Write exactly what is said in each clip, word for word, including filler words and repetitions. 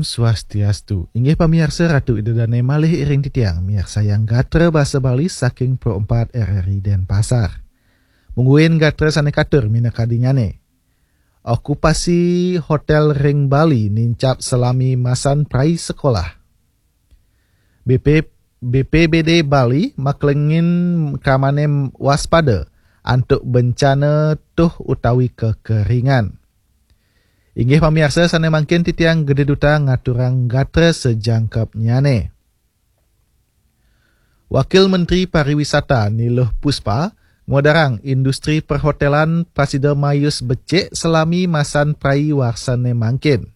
Swastiastu. Inggih pamiarsa, Ratu Ida Dane malih iring titiang miarsayang gatra basa Bali saking Pro empat R R I Denpasar. Mungguing gatra sane katur minakadinyane. Okupasi hotel ring Bali nincap salami masan prai sekolah. B P, B P B D Bali maklengin kramane waspada antuk bencana tuh utawi kekeringan. Inggih pamiarsa sane mangkin titiang Gede Duta ngaturang gatra sejangkepnyane. Wakil Menteri Pariwisata Niluh Puspa ngwedarang industri perhotelan prasida mayus becik salami masan prai warsane mangkin.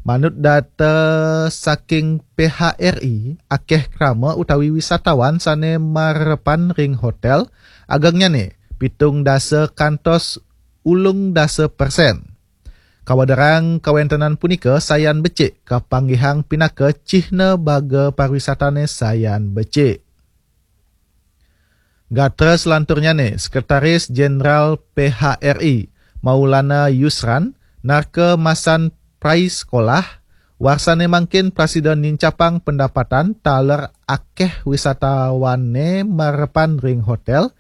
Manut data saking P H R I, akeh krama utawi wisatawan sane marepan ring hotel, agengnyane pitung dasa kantos ulung dasa persen. Kawedarang kawentenan punika sayan becik kapanggihang pinaka cihna baga pariwisatane sayan becik. Gatra selanturnyane, Sekretaris Jenderal P H R I Maulana Yusran narka masan prai sekolah, warsane mangkin prasida nincapang pendapatan taler akeh wisatawane marepan ring hotel,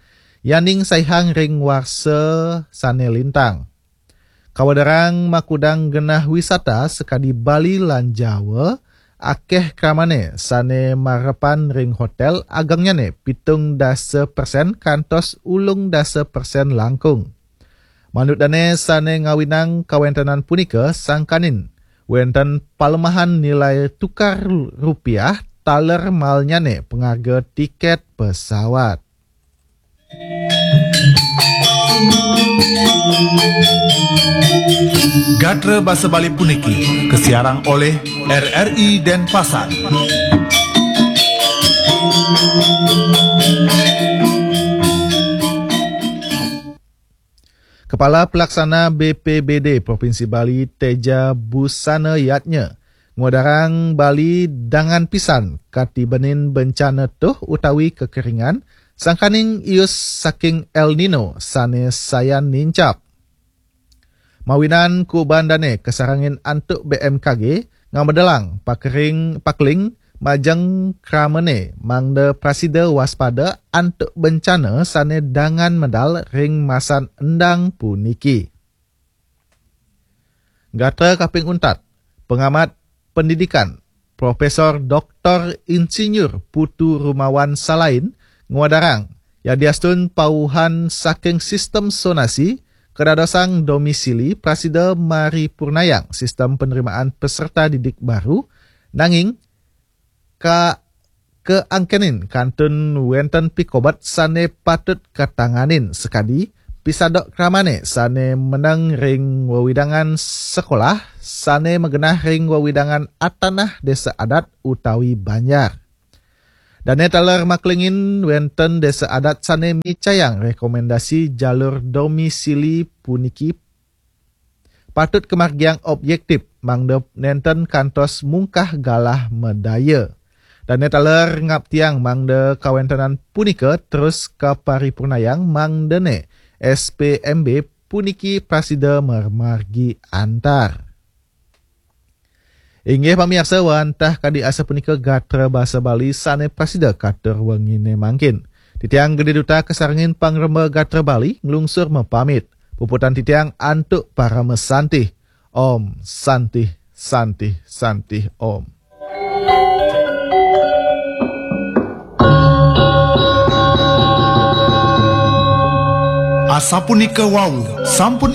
yaning saihang ring warsa sane lintang. Kawedarang makudang genah wisata sakadi Bali lan Jawa, akeh kramane sane marepan ring hotel, agengnyane pitung dasa persen kantos ulung dasa persen langkung. Manut dane sane ngawinang kawentenan punika sangkaning wenten palemahan nilai tukar rupiah taler malnyane pangarga tiket pesawat. Gatra basa Bali puniki kasiarang oleh R R I Denpasar. Kepala Pelaksana B P B D Provinsi Bali Teja Busana Yatnya ngwedarang Bali dangan pisan katibenin bencana tuh utawi kekeringan sangkaning ius saking El Nino sane sayan nincap. Mawinan kuuban dane kasarengin antuk B M K G ngamedelang pakering pakling majeng kramane mangda prasida waspada antuk bencana sane dangan medal ring masan endang puniki. Gatra kaping untat, pengamat pendidikan, Profesor Doktor Insinyur Putu Rumawan Salain ngwedarang, yadiastun pauhan saking sistem sonasi kadadosang domisili prasida maripurnayang sistem penerimaan peserta didik baru, nanging ka keangkenin kantun wenten pikobet sane patut katanganin sakadi pisadok kramane sane meneng ring wewidangan sekolah sane magenah ring wewidangan atanah desa adat utawi banjar. Dane taler maklingin wenten desa adat sane micayang rekomendasi jalur domisili puniki patut kamargiang objektif mangda nenten kantos mungkah galah medaya. Dane taler ngaptiang mangda kawentenan punika terus kaparipurnayang mangdane S P M B puniki prasida marmargi antar. Inggih pamiarsa, wantah kadi asapunika gatra basa Bali sane prasida katur wengine mangkin. Titiang Gede Duta kasarengin pangremba gatra Bali nglungsur mapamit. Puputan titiang antuk parama santih. Om Santih, Santih, Santih Om. Asapunika wau sampun